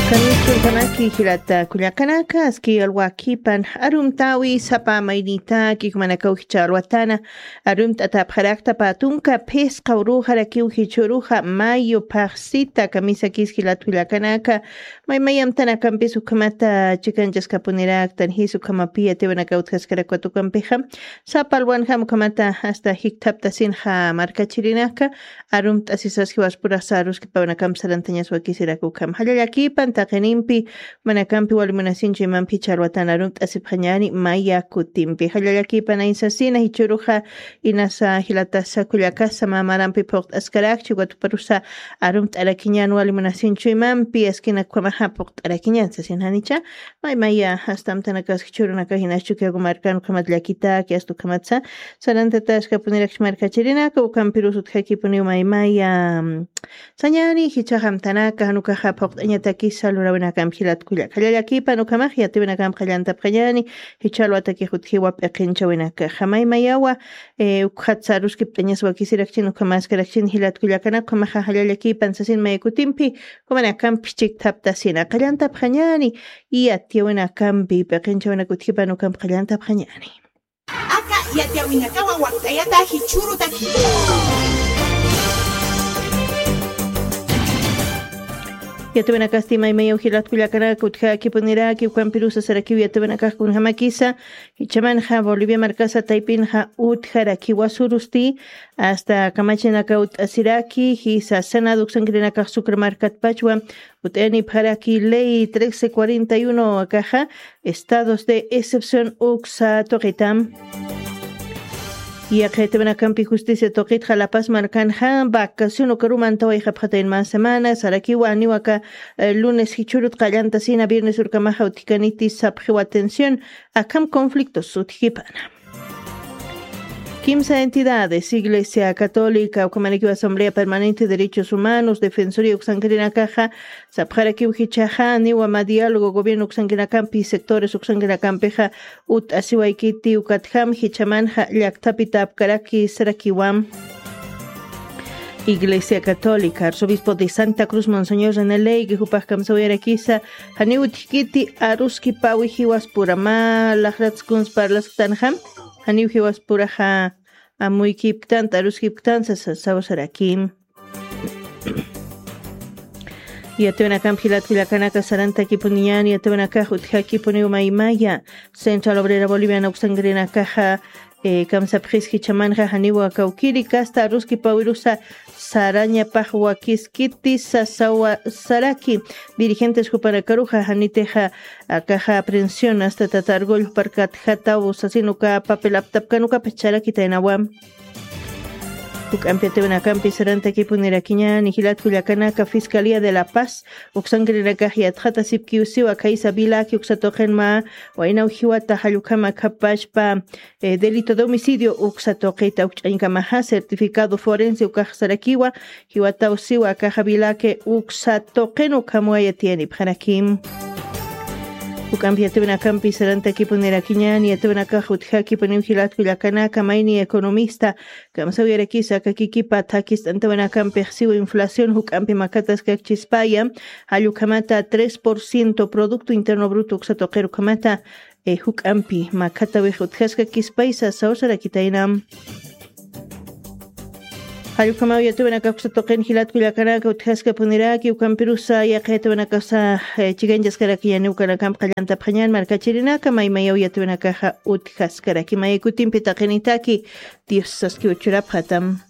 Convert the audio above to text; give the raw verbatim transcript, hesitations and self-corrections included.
Kamichuntamaki jilata kullakanaka, aski alwakipan arumtawi sapa maynitaki kumanakaw jicha alwatana, arumt'atapxarakta patunka phisqa uruxarakiw jichuruxa mayo phaxsita kamisakis jilat kullakanaka, maymayamtanakampis ukhamata chikanchaskapuniraktan jis ukhamapi yatiwanakaw utjaskarakwa tukampixa, sapa alwanjam ukhamata hasta jikthaptasinxa markachirinaka, arumt'asisas jiwaspurasa aruskipawnakam sarantañas wakisirakukham. Jallallakipan taqinimpi, manakampi walimunasinchu imampi jicha alwatan arumt'asipxañani maya kutimpi. Jallallakipan aysasina jichuruxa inasa jilatasa kullakasa mamarampi phuqt'askarakchi watuparusa arumt'arakiñan walimunasinchu imampi askina ukhamaxa phuqt'arakiñan sasin janicha. Maymaya, astamtanakas jichurunaka jinas Chukiyawu markan ukhamat llakitaki, asta ukhamatsa, sarantataskapuniraki markachirinaka, ukampirus utjakipuniw maymaya, mm, sañani, jichhaxamtanaka, jan ukaxa phuqt'añatakisa lurawinakamp jilat kullaka. Jallallakipan ukhamax yatiwinakamp qallantapxañani, jichha alwatakix utjiwa p'iqinchawinakaxa. Maymayawa, eh, ukxatsa aruskipt'añas wakisirakchin, ukhamaskarakchin jilat kullakanaka, ukhamaxa jallallakipan sasin maya kutimpi, Jumanakampis chikthaptasina qallantapxañani, yatiyawinakampi p'iqinchawinaka utjipan ukamp qallantapxañani. Aka yatiyawinakawa wakt'ayata jichhürutaki. Yatiyawinakasti maymayaw jilat kullakanaka utjakipuniraki, ukampirusa sarakiw yatiyawinakax kunjamakisa, jichhamanxa Bolivia markasa taypinxa utjarakiwa surusti, asta kamachinaka ut'asiraki, jisa Senado uksankirinakax Sucre markatpachwa, ut'ayanipxaraki ley trece cuarenta y uno akaxa, estados de excepción uksa tuqitam. Yaqha yatiyawinakampi justicia tuqitxa La Paz markanxa, vacación ukaruman tawayxapxatayn mä semana, sarakiwa aniwaka, eh, lunes jichhürut qallantasina, viernes urkamaxa utjikaniti sapxiw atención, akham conflictos utjkipana. Kimsa entidades, Iglesia Católica, ukhamanikiw Asamblea Permanente de Derechos Humanos, Defensoría uksankirinakaxa, sapxarakiw jichhaxa, niwa mä diálogo gobierno uksankinakampi, sectores uksankinakampixa, ut'asiwaykiti, ukatjam, jichhamanxa, llaktapi tapkaraki, sarakiwam. Iglesia Católica, Arzobispo de Santa Cruz, Monseñor René Ley, jupax kamsawayarakisa, janiw utjkiti aruskipawi jiwaspura, mä laxrats kuns parlasktanxa, janiw jiwaspuraxa amuykipktant, aruskipktant, sasa, sawsarakim. Yatiyawinakamp jilat kullakanaka sarantakipuniñan, yatiyawinakax utjakipuniw maymaya, Central Obrera Boliviana uksankirinakaxa, eh, kamsapxis jichhamanxa janiwa kawkiri kasta aruskipawirusa sarañapax wakiskiti sasawa saraki. Dirigentes jupanakaruxa janitixa akaxa aprehensión asta tata Argüello parkatjataw sasin uka papel aptapkan uka pacharakitänawa. Juk'ampi yatiyawinakampi sarantakipunirakiñäni jilat kullakanaka Fiscalía de La Paz uksankirinakax yatxatasipkiw siwa khaysa vilaki uksa tuqin mä waynaw jiwata jall ukham akhapachpa, eh, delito de homicidio uksa tuqita ukch'añkamaxa certificado forense ukax sarakiwa, jiwataw siwa akaxa vilaki uksa tuqin ukhamwa yatiyanipxarakim. Juk'ampi yatiyawinakampi sarantakipunirakiñäni, yatiyawinakax utjakipuniw jilat kullakanaka mayni economista, kamsawirakisa aka kikipa thakist'antawinakampix siwa inflación juk'ampi makhataskakchispaya, jall ukhamata tres por ciento Producto Interno Bruto uksa tuqir ukhamata, eh, juk'ampi makhatawix utjaskakispaysa sawsarakitayna. Jall ukhamaw yatiyawinakax uksa tuqin jilat kullakanaka utjaskapuniraki, ukampirusa yaqha yatiyawinakasa, eh, chikanchaskarakiñäni ukanakamp qallantapxañän markachirinaka, maymayaw yatiyawinakaxa utjaskaraki. Maya kutimpi taqinitaki, Dios saskiw churapxatam.